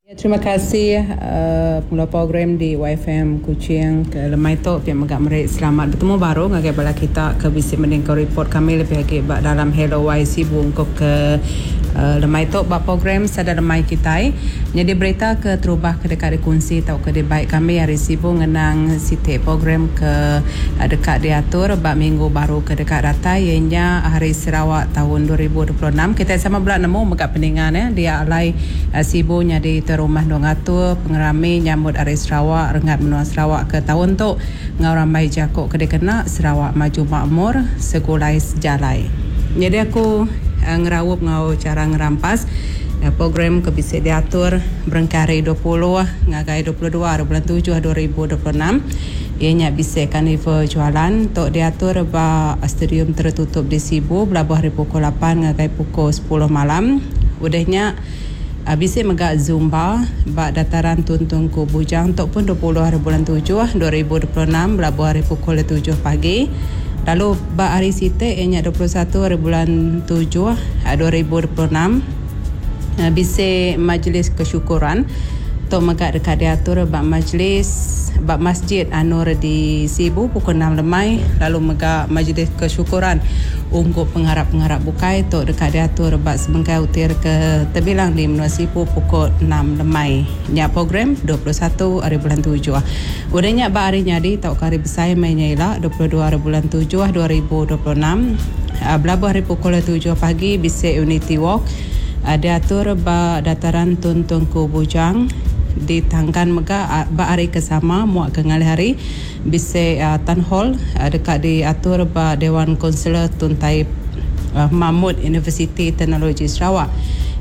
Terima kasih pengeluar program di YFM Kuching ke lemai tu pia mega meri selamat betemu baru ngagai bala kita ke bisi mendingka report kami lebih agi ba dalam Hello Y Sibu ungkup ke lemai tu ba program Sada Lemai kitai. Nyadi berita ke terubah ke deka dikunsi tauka dibai kami ari Sibu ngenang siti program ke deka diatur ba minggu baru ke deka datai iya nya Hari Sarawak taun 2026. Kitai sama bela nemu mega peninga ne dia alai Sibu nyadi tuai rumah endur ngatur pengerami nyambut Hari Sarawak renggat menua Sarawak ke taun tu enggau rambai jaku ke dikena Sarawak Maju Makmur Segulai Sejalai. Nyadi aku ngeraup enggau chara ngerampas program ke bisi diatur berengkah ari 20 ngagai 22 ari bulan tujuh 2026 iya nya bisi Karnival Jualan tu diatur ba Stadium Tertutup di Sibu belabuh ari pukul lapan ngagai pukul sepuluh malam. Udah nya, bisi mega Zumba ba Dataran Tun Tunku Bujang tu pun 20 hari bulan tujuh 2026 belabuh ari pukul tujuh pagi. Lalu ba hari siti iya nya 21 hari bulan tujuh 2026 bisi Majlis Kesyukuran tu mega deka diatur ba Majlis ba Masjid An-Nur di Sibu pukul enam lemai lalu mega Majlis Kesyukuran ungkup pengarap-pengarap bukai tu deka diatur ba sebengkah utir ke tebilang di menua Sibu pukul enam lemai. Nya program 21 hari bulan tujuh. Udah nya ba hari nyadi tauka hari besai meh nya ila 22 hari bulan tujuh 2026 belabuh ari pukul tujuh pagi bisi Unity Walk diatur ba Dataran Tun Tunku Bujang ditangkan mega ba hari ke sama muak ke ngalih hari. Bisi Town Hall deka diatur ba Dewan Konselor Tun Taib Mahmud Universiti Teknologi Sarawak,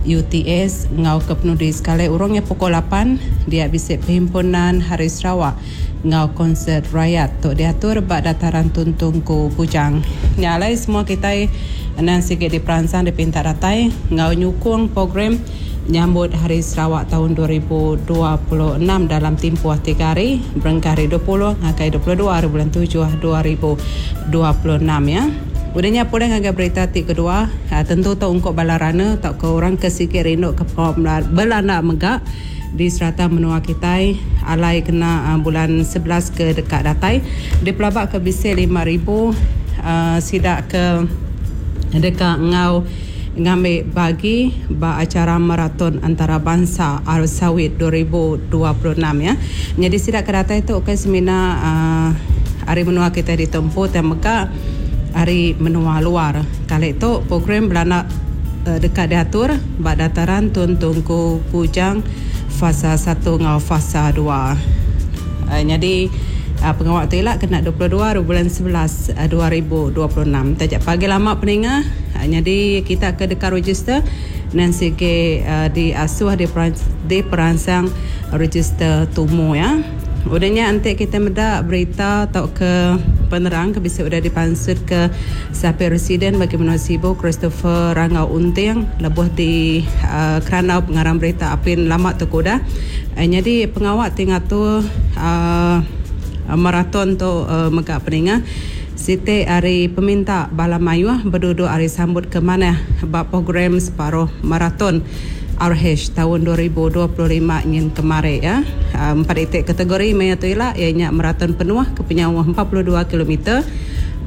UTS, enggau ke penudi sekali urung iya pukul lapan dia bisi Perhimpunan Hari Sarawak enggau Konsert Rayat tu diatur ba Dataran Tun Tunku Bujang. Nya alai semua kitai endang sigi diperansang dipinta datai enggau nyukung program Nyambut Hari Sarawak taun 2026 dalam timpuh tiga hari, berengkah ari 20 ngagai 22 hari bulan tujuh 2026 ya. Udah nya pulih ngagai berita ti kedua, tentu tu ungkup bala runner tauka orang ke sigi rindu ke pengawa belanda mega di serata menua kitai alai kena bulan 11 ke deka datai dipelaba ke bisi 5000 sida ke deka enggau ngambi bagi ba achara Maraton Antarabansa Al-Sawit 2026 ya. Nyadi sida ke datai tu ukai semina ari menua kitai ditu empu tang mega ari menua luar. Kali tu program belanda deka diatur ba Dataran Tun Tunku Bujang Fasa satu enggau Fasa dua. Nyadi pengawa tu ila kena 22 ari bulan 11 2026. Taja pagi lama peninga nyadi kita ke deka register nan sigi diasuh diperansang register tumu iya. Udah nya enti kita meda berita tauka penerang ke bisi udah dipansutka Sapit Residen bagi menua Sibu Christopher Rangau Unting lebuh di kerandau pengarang berita apin lama tu ke udah. Nyadi pengawa ti ngatur maraton tu mega peninga siti ari peminta bala mayuh beduduk ari sambut ke manah ba program separuh maraton RH taun 2025 nyin kemari. Empat iti kategori maya tu ila iya nya maraton penuh ke penyauh 42 kilometer,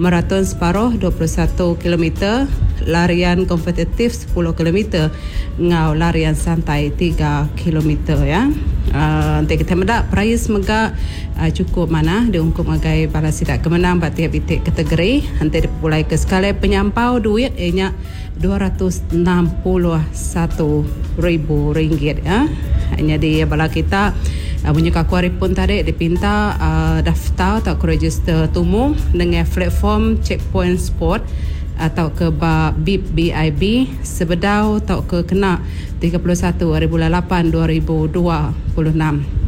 maraton separuh 21 kilometer, larian kompetitif sepuluh kilometer enggau larian santai tiga kilometer ya. Enti kitai meda perais mega chukup manah diungkup ngagai bala sida ke menang ba tiap iti kategori. Enti dipepulaika sekali penyampau duit iya nya 261 ribu ringgit ya. Nyadi bala kita munyi ke aku ari pun tadi dipinta daftar tauka register tumu nengah platform Checkpoint Sport tauka ba bib BIB sebedau tauka kena 31 ari bulan lapan 2026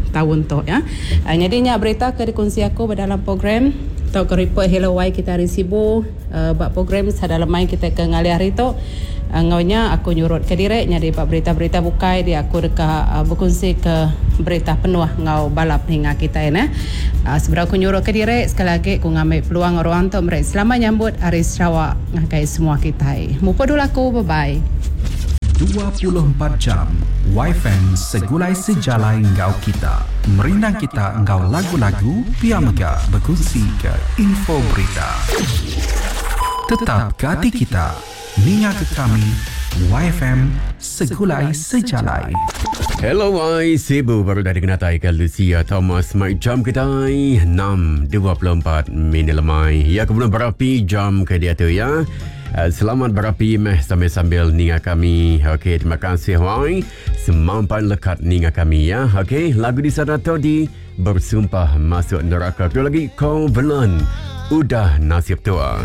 taun tu ya. Nyadi nya berita ke dikunsi aku ba dalam program tauka report Hello Wai kita ari Sibu. Ba program sada lemai kitai ke ngalih hari tu, enggau nya aku nyurutka diri nyadi ba berita-berita bukai dia aku deka bekunsika berita penuh enggau bala peninga kitai neh. Sebedau aku nyurutka diri sekali agi ku ngambi peluang ruang tu meri selamat nyambut Hari Sarawak ngagai semua kitai. Mupuk dulu aku. Bye bye. 24 jam. Yfm Segulai Sejalai enggau kita. Merindang kita enggau lagu-lagu pia mega bekunsi ke info berita. Tetap ke ati kita. Ninga ke kami Yfm Segulai Sejalai. Hello Y Sibu baru dah dikenatai ke Lucia Thomas mai jam kitai 6.24 minit lemai. Ya kemudian berapi jam ke dia tu ya. Eh, selamat berapi meh sambil-sambil ninga kami. Okey, terima kasih Wai. Semampai lekat ninga kami ya. Okey, lagu di sana tadi bersumpah masuk neraka. Kedua lagi Covenant. Udah nasib tua.